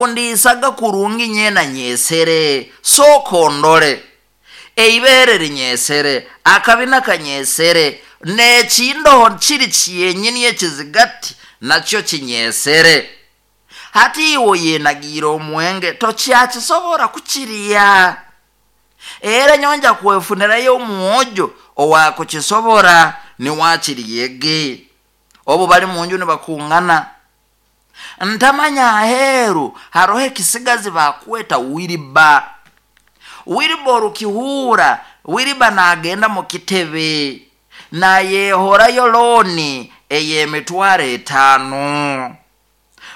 Ndiisaga kurungi nyena nyesere, sooka ondole eibeere linyesere, akabina kanyesere, n'ekindoho kiri kyenyini ekizigati nakyo kinyesere. Hati iwe oyenagiire omwenge tokyakisobora kukirya. Era nyonja kwefunirayo omwojo owakukisobora niwakiryege. Obu bali munju nibakungana, ntamanya aheeru haroho ekisigazi bakweta wiriba. Wiriba orukihuura, wiriba naagenda mu kitebe naayehorayo looni ey'emitwaro 5.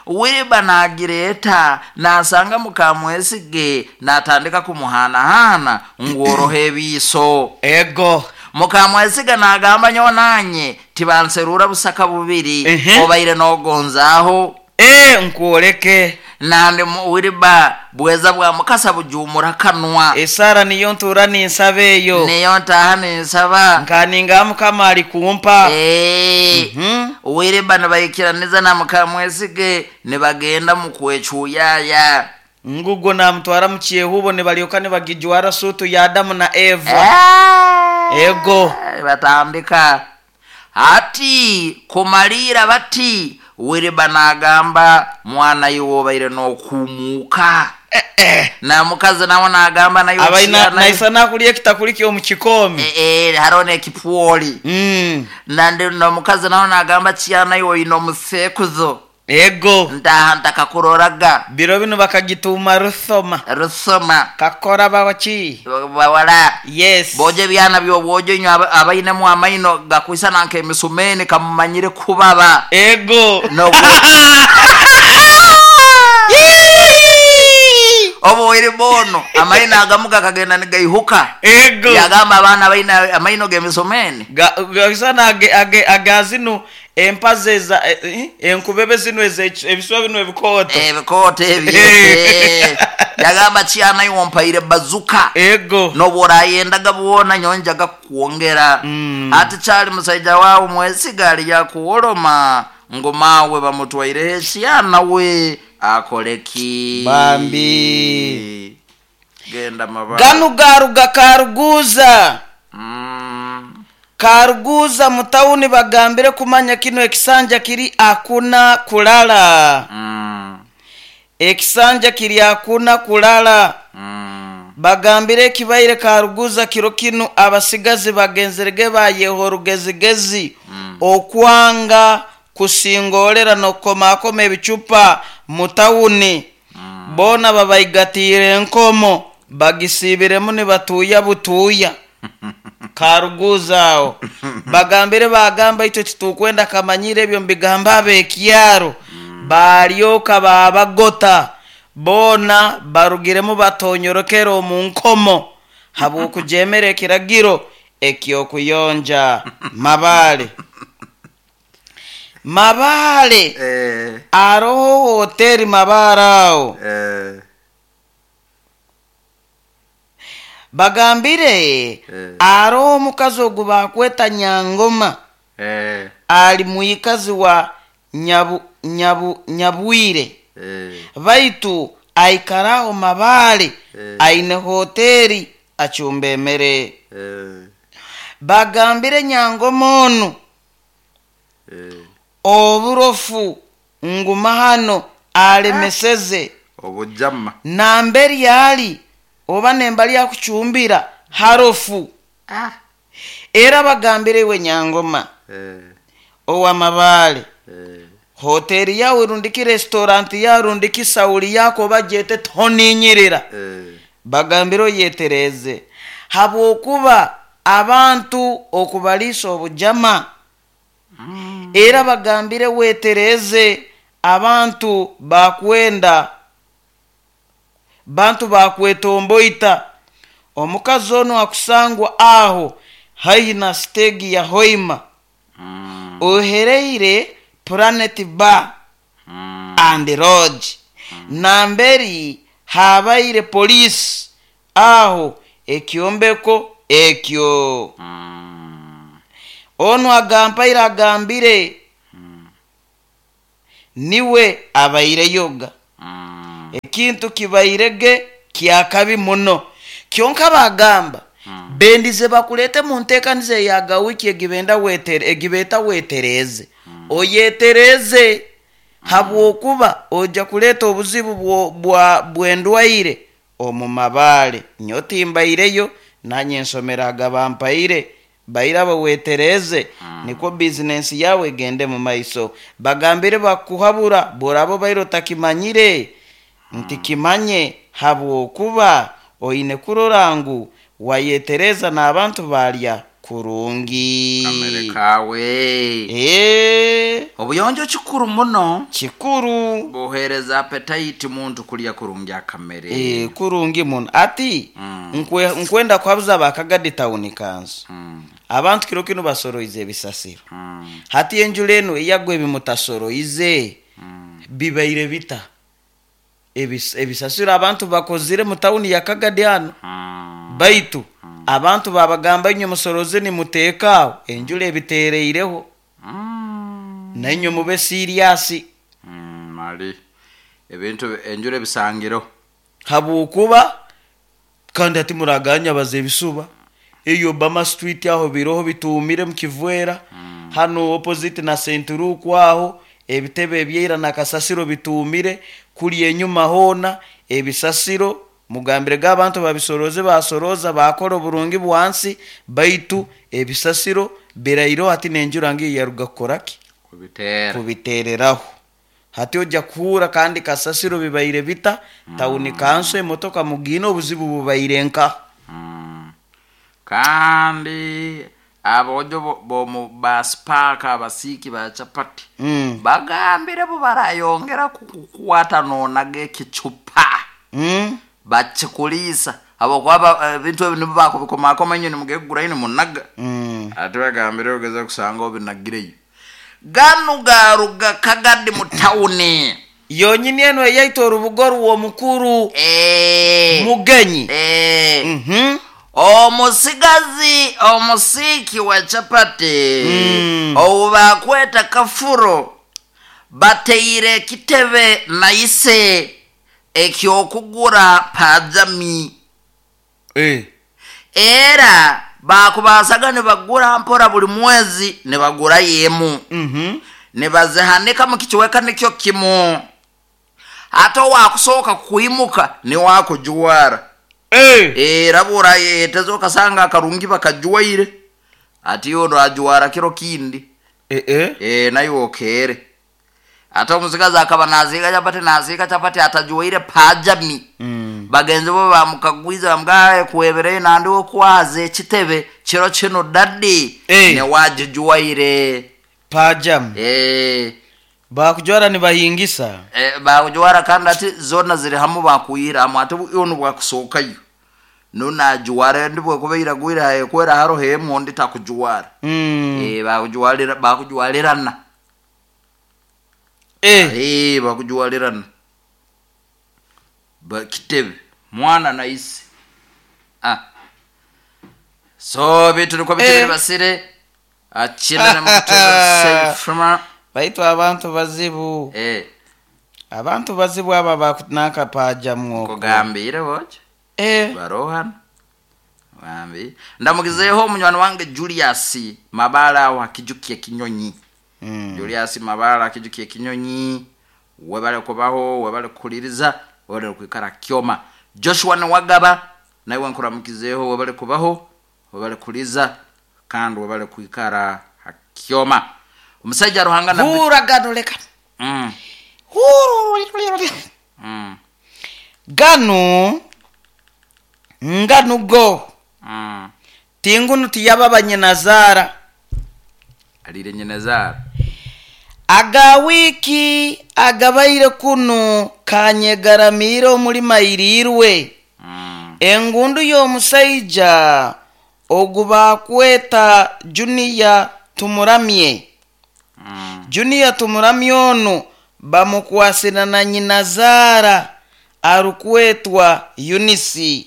Wiriba naagireeta naasanga mukamwesige naatandika kumuhaanahaana ngu oroho ebiiso. Ego. Mukamwesiga naagamba nyowe nanye tibanseruura busaka bubiri, obaire noogonzaaho. Ee, nkwoleke. Nandi wiriba bweza bwa mukasa bujuumura kanwa. Esaara niyo ntuura ninsaba eyo. Niyo ntaaha ninsaba. Nkaninga Mukama ali kumpa. Wiriba nibaikiraniza na mukamwesige nibagenda mu kwecuyaaya. Ngugwo namutwara mu kyehubo nibalyoka nibagijwara suutu ya Adamu na Eva. Ego. Batandika hati kumaliira bati wiriba naagamba mwana iwe obaire n'okuumuuka. Na mukazi nawe naagamba nayo Abaina kyana- naisa nakulya ekitakuli ky'omu kikoomi. Hariho n'ekipwoli. Nandi n'omukazi nawe naagamba kyana iwe oine omuseekuzo. Ego. Ntaaha ntakakuroraga. Biro binu bakagituuma ruthoma. Rusoma. Kakora bawaki. Bawala. Yes. Bojo ebyana by'obwojo inywe abainemu amaino gakwisana nk'emisumeni kamumanyire kubaba. Ego. Obu oire bono amaino agamu gakagenda nigaihuka. Ego. Yagamba abaana baine amaino g'emisumeni. Gaisana aga zinu empazi eza enkubebe zinu ebiswa binu ebikooto. Ebikooto ebyo. Yagamba kyana iwe ompaire bazuka. Ego. N'obu orayendaga bwona nyonjaga kukwongera. Ati kyali musaija wawe mwesiga ali yakuworoma ngu maawe bamutwaireho ekyana we akoleki. Bambi. Genda mabara. Ganu garuga Karuguza. Karuguza mu tawuni bagambire kumanya kino ekisanja kiri akuna kulala. Ekisanja kiri akuna kulala. Bagambire ekibaire Karuguza kiro kinu abasigazi bagenzerege bayeho orugezigezi. Okwanga kusingolera n'okukomakoma ebicupa mu tawuni. Boona babaigatiire enkomo bagisibiremu nibatuuya butuuya. Karuguza aho. Bagambire bagamba itwe titukwenda kamanyire ebyo mbigamba abekyaro. Balyoka babagota. Boona barugiremu batonyorokera omu nkomo habw'okujemera ekiragiro eky'okuyonja Mabale. Mabale. Aroho hoteri Mabale aho. Bagambire aroho omukazi ogu bakweta Nyangoma. Ali muikazi wa Nyabwire. Baitu aikaraho Mabale. Aine hoteri achumba emere. Bagambire Nyangoma onu. Oburofu nguma hano alemeseze. Obujama. Namberi ali oba nembali akuchumbira harofu. Era bagambire iwe Nyangoma. Owa Mabale. Hoteri yawe rundiki restaurant ya rundiki sauli yako bajete toninyirira. Bagambire oyetereze. Habwokuba abantu okubalisa obujama. Era bagambire wetereze abantu bakwenda bantu bakwetomboita. Omukazi ono akusangwa aho haihi na stegi ya Hoima. Ohereire Planet Bar and Lodge. Namberi habaire polisi aho ekyombeko ekyo. Ono agampaire agambire niwe abaire yoga. Ekintu kibairege kyakabi muno. Kyonka bagamba bendize bakulete mu nteekaniza eya wiki egibenda wetere, egibeta wetereze. Oyetereze habwokuba ojja kuleeta obuzibu bw'endwaire omu mabaale. Nyowe timbaireyo, nanye nsomeraga bampaire bairaba wetereze, nikwo bizinensi yawe egende mu maiso. Bagambire bakuhabura bworaba obaire otakimanyire nti kimanye, habwokuba oine kurora ngu wayetereza n'abantu balya kurungi. Kamere kawe. Obuyonjo kikuru muno. Kikuru. Buhereza appetite muntu kulya kurungi akamere. Kurungi muno. Ati nkwenda kuhabuza abakagadi town kanso. Abantu kiro kinu basoroize ebisasiro. Hati enjura enu eyagwa ebimutasoroize bibaire bita. Ebisasiro abantu bakozire mu tawuni ya Kagadi hano. Baitu abantu babagamba inywe musoroze nimuteeka aho, enjura ebiteereireho. Nainywe mube serious. Mali ebintu enjura ebisangiro. Habwokuba kandi hati muraganya baza ebisuba. Eyo Obama Street aho biroho bituumire mu Kivwera. Hano opposite na St. Luke aho ebitebe ebyaira na kasasiro bituumire. Kuli enyuma hoona ebisasiro mugambire ga abantu babisoroze, basoroza bakora oburungi bwansi, baitu ebisasiro biraireho hati n'enjura ngiyo yaruga kukora ki? Kubiteera. Kubiteereraho. Hati ojja kuhuura kandi kasasiro bibaire bita, tawuni kanso emotoka mugiine obuzibu bubaire nka. Kandi abojo bomu ba Spark abasiiki ba chapati bagambire bo barayongera kukukwata nonaga ekicupa. Bakikuliisa habwokuba ebintu ebi nibo bakubikomakoma inywe nimugegura nimunaga. Ate bagambire ogeza kusanga obinagireyo. Ganu garuga Kagadi mu tawuni. Yonyini eno eyaita orubuga orw'omukuru Mugenyi. Omusigazi omusiiki wa chapati ou bakweta Kafuro bateire ekitebe na ise eky'okugura pajami. Era bakubasaga nibagura mpora buli mwezi nibagurayo emu. Nibazihanika mu kicweka nikyo kimu. Ate owakusooka kwimuka niwe akujwara. Era bw'orayeteza okasanga akarungi bakajwaire, ati ono ajwara kiro kindi. Nayo okeere. Ate omusigazi akaba nasiika chapati, nasiika chapati atajwaire pajami. Bagenzi bo bamukagwiza bamugamba kwebereyo nandi okwaza ekitebe kiro kino dadi newagijwaire. Pajami. Bakujwara nibahingisa. Bakujwara kandi ati zona ziri hamu bakuyira hamu ate ono bwakusookayo. Nonajwara ndi bwekuba iragwire hayekwera haroho emu ondi takujwara. Bakujwalira, bakujwalirana. Bakujwalirana. Bakitebe mwana na ise. So bitu niko bitebere basire. Akina na mutebe sefuma. Baitu abantu bazibu. Abantu bazibu aba bakunaka paja mwoko. Kugambire boje. Barohana. Bambi. Ndamugizeho munywani wange Julius Mabala wa Kijukiye Kinyonyi. Julius Mabala Kijukiye Kinyonyi. Webale kubaho, webale kuliriza, webale kwikara kyoma. Joshua Nwagaba nawe nkuramukizeho, webale kubaho, webale kuliza kandi webale kwikara kyoma. Omusajja Ruhanga na Hura gano leka. Gano ngano go. Tingunu tiyababa nyinazara. Alire nyinazara. Aga wiki agabaire kuno kanyegaramire omulima irirwe. Engundu y'omusaija ogubakweta Junior Tumuramye. Junior Tumuramye ono bamukwasira na nyinazara arukwetwa Eunice.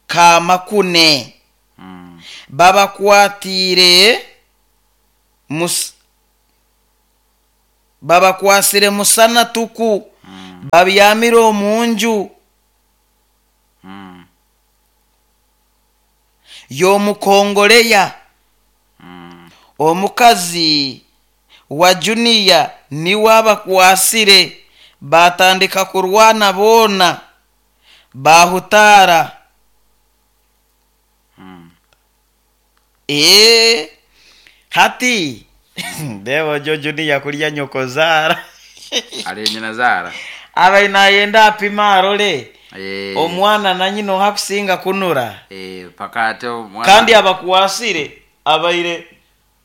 Kamakune. Babakwatire babakwasire musana tuku. Babyamire omunju y'omukongoleya. Omukazi wa Junior niwe abakwasire, batandika kurwana boona bahutaara. Hati ndeeba ogyo Junior kurya nyokozaara. Ali nyina zaara. Abaire nayenda apime arore omwana na nyina oha akusinga kunura. Paka ate omwana. Kandi abakwasire abaire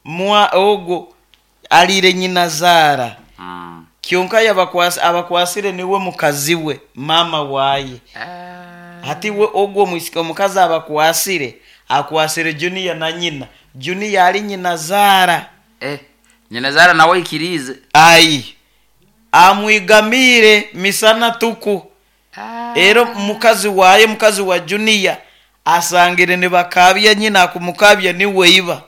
mwa ogwo aliire nyina zaara. Kyonka abakwasire niwe mukazi we, mama waye. Hati we ogwo omwisiki omukazi abakwasire, akwasire Junior na nyina. Junior ali nyina zaara. Nyina zaara nawe aikiriize. Ai, amwigamiire misana tuku. Era mukazi waye, mukazi wa Junior, asangire nibakabya nyina akumukabya niwe iba.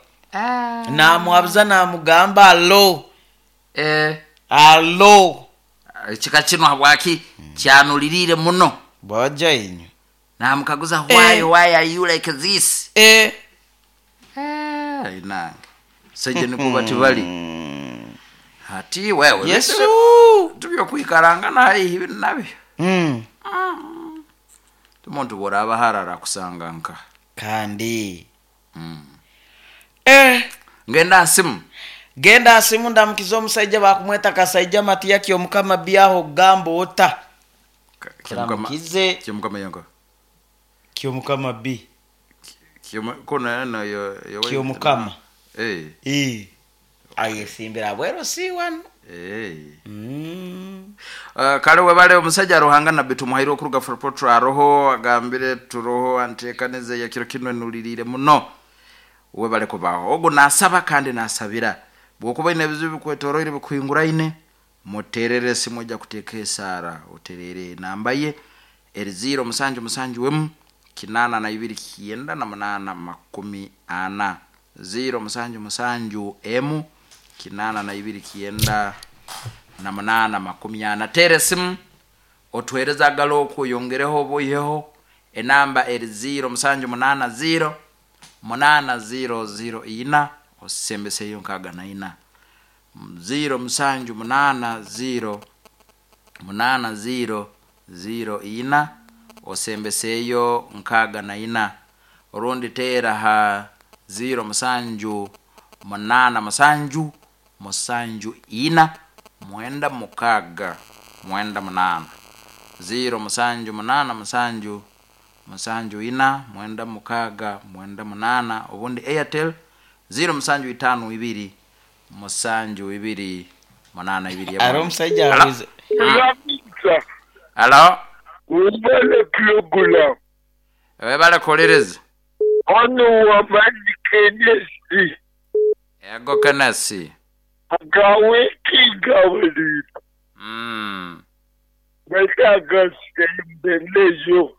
Namuhabuza namugamba alo. Alo. Ekika kino habwaki kyanuliriire muno. Bwaja inyu. Namukaguza why are you like this? Inange. Seje nikuba tibali. Hati wewe. Yesu. Tubyo kwikaranga na haihi nabyo. Omuntu bworaba harara kusanga nka. Kandi. Ngenda asimu. Genda asimu ndamukiza omusajja bakumweta Kasaija Matiya Omukama byaho gambo ota. Ndamukize. Kyomukama yango. Kyomukama B. Kona na yo Kyomukama. Ayesimbira bwero si wano. Kale webale omusajja Ruhanga nabbi tumuhaire okuruga for aroho agambire turoho anteekanize ya kiro kino nulirire muno. Webale kubaho. Ogo nasaba kandi nasabira. Bwokuba ine bizibu bikwetoroire bikuhinguraine muterere simu ojja kuteeka esaara oterere namba ye eri 0 7 7 8 2 98 40 0 7 7 8 2 98 40. Tere simu otuhereza agalo okuyongereho obuiheho enamba eri 0 7 8 0 8 0 0 4 osembeseyo nkaga na ina 0 7 8 0 8 0 0 4 osembeseyo nkaga na ina. Orundi tera ha 0 7 8 7 7 4 9 6 9 8 0 7 8 7 7 4 9 6 9 8. Obundi Airtel 0 7 5 2 7 2 8 2. Aro musajja abuze. Alo. Ubale plugula. Webale kolereza. Ono wabali kenesi. Ego kenesi. Agawe kigaweli. Betaga sembelejo.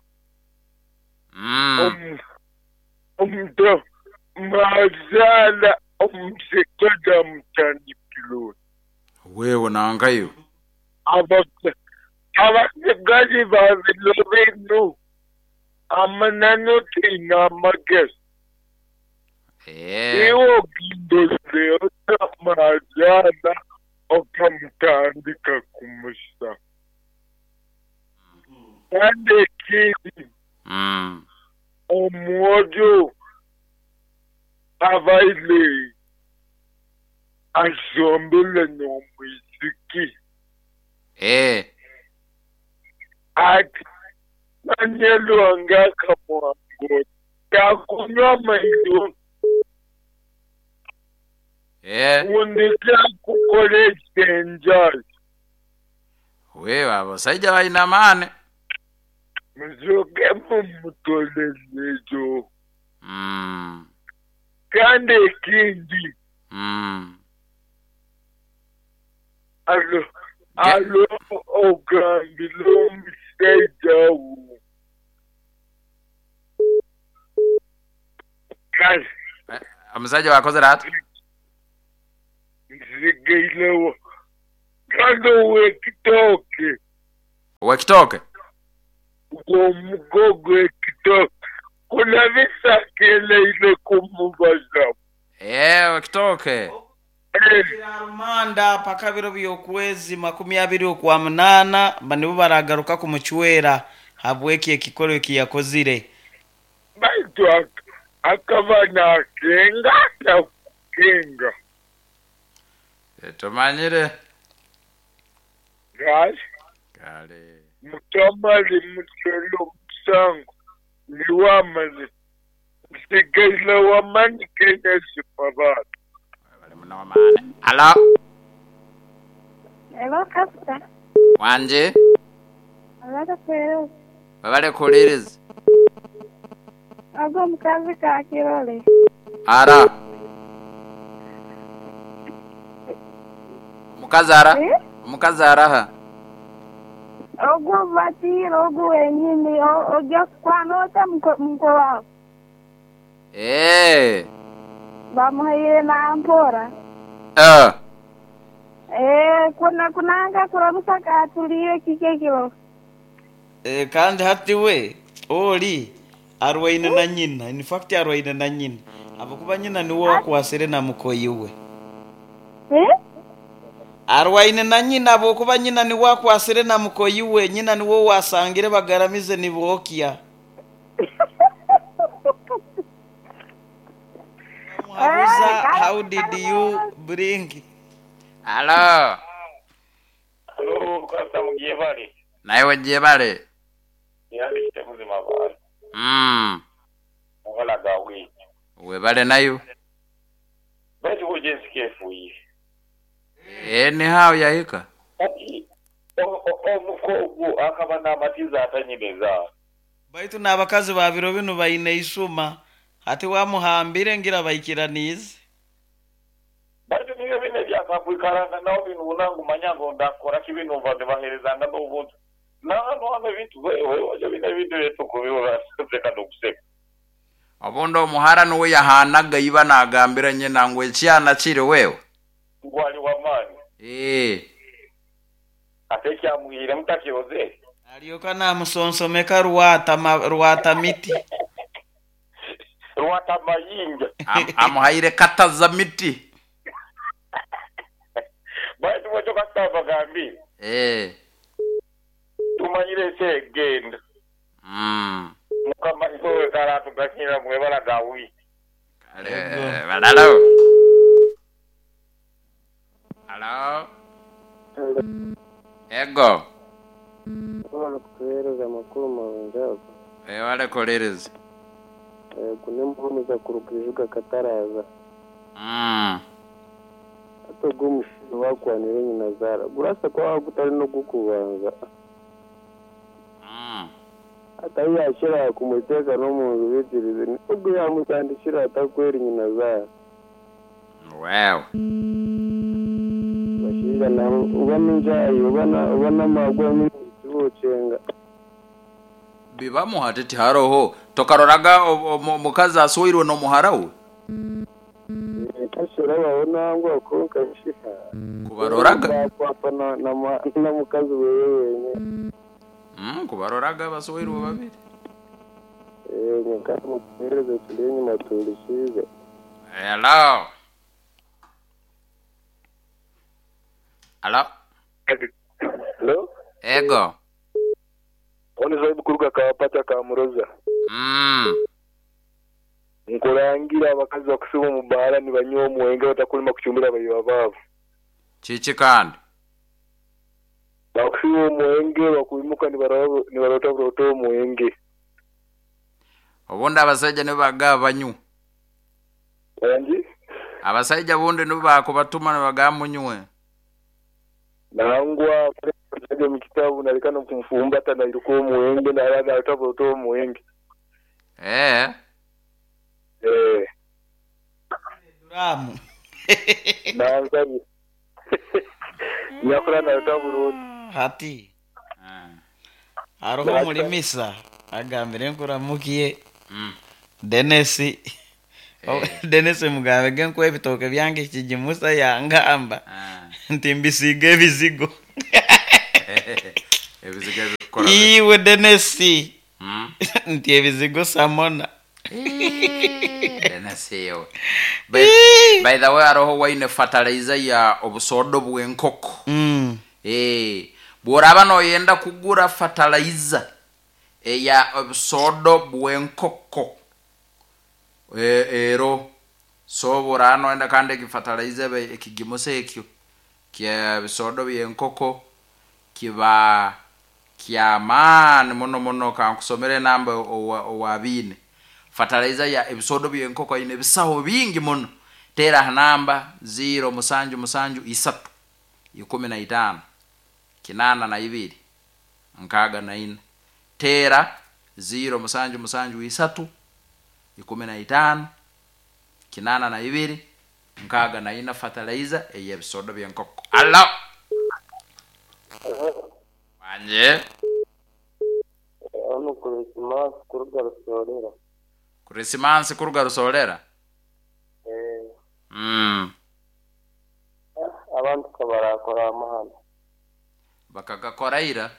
Omdo mazala omsekoda mtandikilo. Wewe naangayo. Abakazi babilobenu amanano tina mages. Iwo gindozeo mazala okamtandika kumusa. Ande kidi. Omwojo abaile azombele n'omwisiki. Ati nanyelwanga kamwango takunywa mailo. Undika kukolesha enjala. Wewe abasajja balina amaani. Muzoke mumutolezejo. Kandi ekindi. Alo alo ogambire omusajja wo. Kale. Omusajja wakozere ati? Nzigairewo. Kandi owekitooke. Owekitooke. Omugogo ekitooke. Kunabisa keleile kumubaza. Owekitooke. Rumanda paka biro by'okwezi 28 nibo baragaruka kumuchwera habweki ekikoro ekiyakozire. Baitu akaba nakenga atakukenga. Tumanyire. Kale. Kale. Mutamali musolo musango niwamale nsigaile wamani Kenya sipabala. Alo. Hello, Pastor. Wanje. Abale kwero. Babale kuliriza. Ago mukazi ka kirole. Ara. Mukazi ara? Eh? Mukazi araha. Ogu batiro ogu wenyini ojja kukwana ota mko wao. Eh. Bamuhaire na mpora. Kuna kunanga kuramusa katuliye kike kilo. Kandi hati we oli arwaine na nyina. In fact arwaine na nyina. Abakuba nyina niwe wakwasire na mukoyi we. Arwaine na nyina abokuba nyina niwe wakwasire na mukoyi we. Nyina niwe wasangire bagaramize nibokia. How did you bring? Hello. Hello, Pastor Mujebale. Naiwe jebale. Yali muzima bale. Mugala gawe. Webale nayo. Baitu ojensike fuyi. Ni hao yahika. Omukogu akaba n'amatiza atanyineza. Baitu n'abakazi ba biro bino baine isuma. Ati wamuhambire ngira baikiranize. Baitu niyo bine byakakwikaranga naho binu unangu manyango ndakora kibinu mva ndibaherezanga n'obuntu. Naho hano bintu wewe bine bintu yetu kubibura seka nokuseka. Obundi omuhara nuwe yahanaga iba nagambira nyina ngo ekyana kiri wewe. Ngwali wamani. Ate kyamuhire mutakiroze. Alioka namusonsomeka ruwata miti. Ruwata mayinja. Amuhaire kataza miti. Baitu mwacho kasaba gambi. Tumanyire se genda. Mukama iwe karatu gakira mwebala gawi. Balalo. Hello. Ego. Wala kutuhereza amakuru marungi. Wale kolereza. Kunemuhumiza kurukijuka kataraza. Ato gumushizo wakwanire nyina zara. Gurasa kwa kutari no gukubanza. Ata yashira kumuteka no munzu bitirize. Ubwo yamutandikira atakweri nyina zara. Wow. Bashiza na ubana njayi ubana magwa mitucenga. Bibamu hatiti haroho tokaroraga mukazi aswirwe no muharawe. Kashira babona ngo konka shiha. Kubaroraga kwapa na mukazi wewe. Kubaroraga baswirwe babiri. Nka mupereze tulenye matulishize. Hello. Hello. Hello. Ego. Oni zaibu kuruka kawapata kamuroza. Nkurangira abakazi bakusiba mu bahara ni banywa omwenge batakulima kuchumbira abayiwa baabo. Chichi kandi. Bakusiba omwenge bakuimuka nibarota burota omwenge. Obundi abasajja nibo bagaba banywa. Wanji? Abasajja bundi nibo bakubatuma nibagaba munywe. Nangwa kwenye mkitabu nalikana kumfumbata na ilikuwa muwenge na alada atapo muwenge. Duramu. Nanzabi. Nyakura na tabu hati. Aroho mulimisa agambire nkuramukiye. Denesi. Denesi mugabe genko ebitoke byange kijimusa yangamba. Nti mbisiga ebizigo. Ebizigo ebikukora bi- Iwe Denesi. Nti ebizigo samona. Denesi by, by the way, aroho waine fertilizer ya obusodo bw'enkoko. Eh, bw'oraba noyenda kugura fertilizer eya obusodo bw'enkoko, ero so bw'oraba noyenda kandi egifertilizer ebe ekigimusa ekyo kya bisodo by'enkoko kiba kyamaani muno muno. Kankusomere enamba owabiine fertilizer ya ebisodo by'enkoko aine ebisaho bingi muno. Teera ha namba 0 7 7 3 15 82 64. Teera 0 7 7 3 15 82 64, fertilizer ey'ebisodo by'enkoko. Alo, wanje. Hano Krisimasi kuruga Rusorera. Krisimansi kuruga Rusorera. Abantu kabarakora amahano. Bakagakora ira.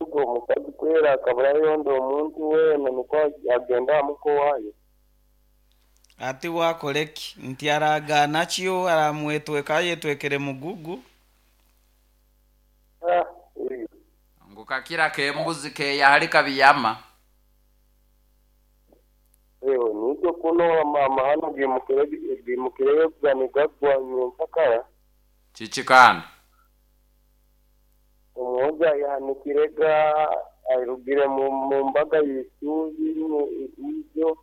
Ubwo omukazi kwera akabura yondo omuntu weena nikwo agenda amuko wayo. Ati wakoleki nti aragana kyo aramwetweka yetwekere mugugu. Ngu kakira kembuzi keyahali kabiyama. Ewe nikyo kuno amahano gimukireyo kuganigagwa nyenkakara. Chichikana omuhoja yahanikirega airugire mu mbaga y'isuzi ibyo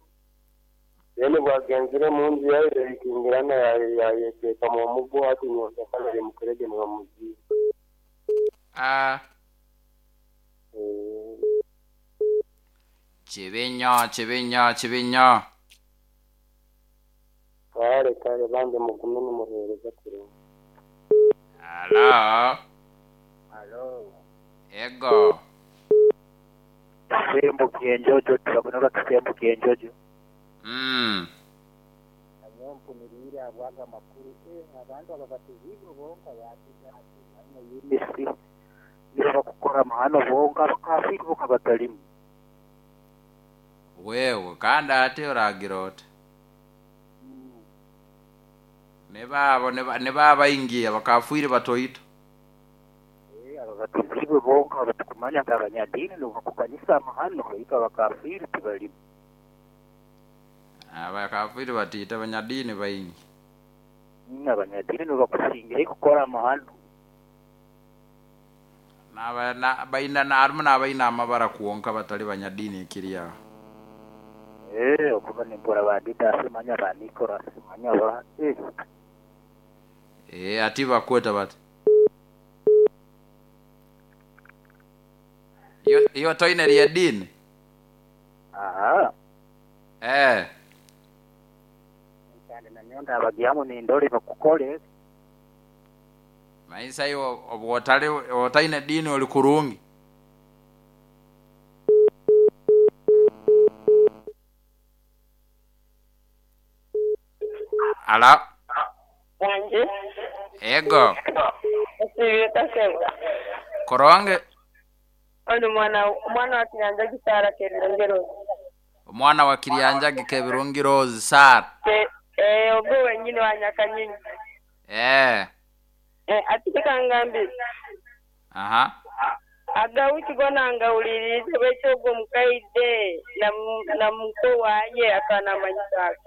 bene bwagenzire mu nzu yayo ikingirana yayeteka mu mugo ati nyenkakara rimukirege nibamuziba. Kibinyo kibinyo kibinyo. Kare kare bande mugume nimuhereza kurungi. Alo. Alo. Ego. Tusembukie njojo, turakunora tusembukie njojo. Anyompunirire abwaga makuru abantu ababatizibwe bonka yatiga ati yimisi niba bakukora amahano bonka bakafiri boka batalimu. Wewe kandi ate oragira oti nebabo nebabaingia bakafwire batoito. Ababatizibwe bonka batukumanya nga abanyadini nobakukanisa amahano ika bakafiri tibalimu. Abakafiri batita abanyadini baingi. Abanyadini nobakusingira kukora amahano. Naba na baina na arumu nabaina amabara kuonka batali banyadini kiriya. Okuba nimbura bandita simanya ba Nicholas simanya ba ati bakweta bati. Iyo toine ya dini. Aha. Kandi nanyonda abagiamu ni ndoli bakukole. Maisa iyo obwotale otaine dini oli kurungi. Ala. Wanje. Ego. Kaseba. Koronge. Ono mwana wa Kiryanjagi Sara Kebirungi. Omwana wa Kiryanjagi Kebirungi Rose Sara. Ogwo wenyini wa Nyakanyinyi. Ati kangambi. Aha. Agawuki gona ngawulirize bwekyo ogwo mukaide na muko waye akana manyisaka.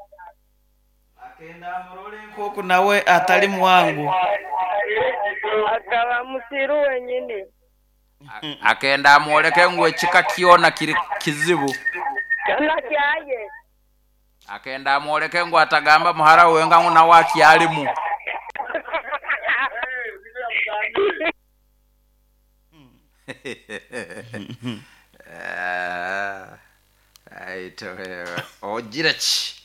Akenda murole nkoku nawe atali mwangu. Akaba musiru wenyini. Akenda amwoleke ngwe chika kiona kiri kizibu. Kana kyaye. Akenda amwoleke ngwe atagamba muhara wenga nguna waki alimu. Aito wewe. Ojira chi.